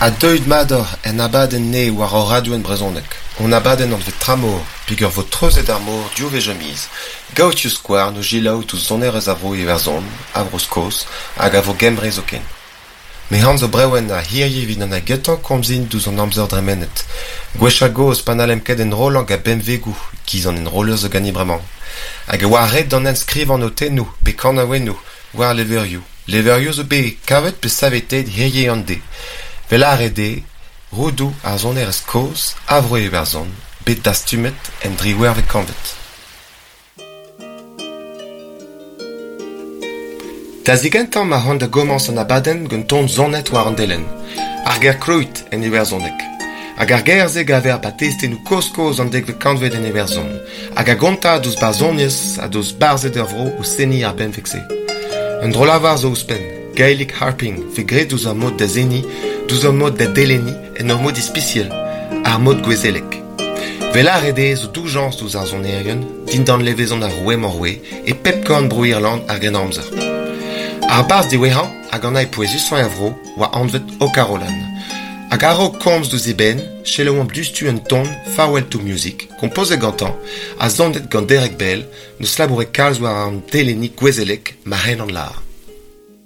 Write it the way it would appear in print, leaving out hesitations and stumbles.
Ha deuet mat oc'h en abadenn nevez war hor radio en brezhoneg. Hon abadenn anvet Tramor, peogwir 'vo treuzet ar mor div wech ar miz. Gaout skouarn o selaou ouzh sonerezh a vro Iwerzhon, a Vro-Skos hag a vro Gembre zoken. Me anv zo Brewen ha hiziv evit an gentañ komzin diouzh an amzer dremenet. Gwechall-gozh pa n'hallemp ket enrollañ gant benvegoù, 'giz an enroller zo ganimp bremañ. Hag e oa ret d'an nen skrivañ notennoù pe kanaouennoù war levrioù. Levrioù zo bet kavet pe saveteet hiziv an deiz. 'Vel lâret eo, roudoù ar sonerezh kozh a vro Iwerzhon, bet dastumet en driwec'hvet kantved. Da zigentañ ma c'hoant da gomañs an abadenn gant ton sonet war an delenn. Ar ger cruit en iwerzhoneg. Hag ar ger-se 'gaver 'ba testennoù kozh-kozh an dekvet kantved en Iwerzhon, hag a gonta deus barzhoniezh ha deus barzhed er vro o seniñ ar benveg-se. Un dro-lavar zo ouzhpenn, Gaelic harping 'vez graet deus ar mod da seniñ, deus ar mod da delenniñ en ur mod ispisial, ar mod gouezelek. 'Vel lâret eo zo doujañs ouzh ar sonerien, dindan levezon ar roue-mañ-roue, e pep korn Bro-Irland ar Grennamzer. Ar barzh diwezhañ hag an eil pouezusañ er vro oa anvet O'Carolan. Hag a-raok komz deus e benn, selaouomp diouzhtu un ton Farewell to Music, kompozet gantañ ha sonet gant Derek Bell, 'neus labouret kalz war an telennig gouezelek ma c'hellan lâr.